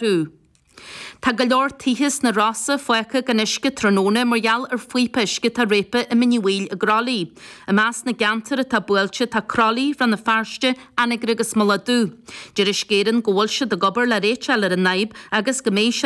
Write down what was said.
Orthu. Tá go leor tithe sna Rosa fágtha gan uisce tráthnóna mar gheall ar phíopa uisce atá réabtha i Mín Uí Bhaoill i gCroithlí. I measc na gceantar atá buailte tá Croithlí, Rann na Feirste, Anagaire agus Mullach Dubh. Deir Uisce Éireann go bhfuil siad ag obair le réiteach a fháil ar an fhadhb agus go mbeidh sé.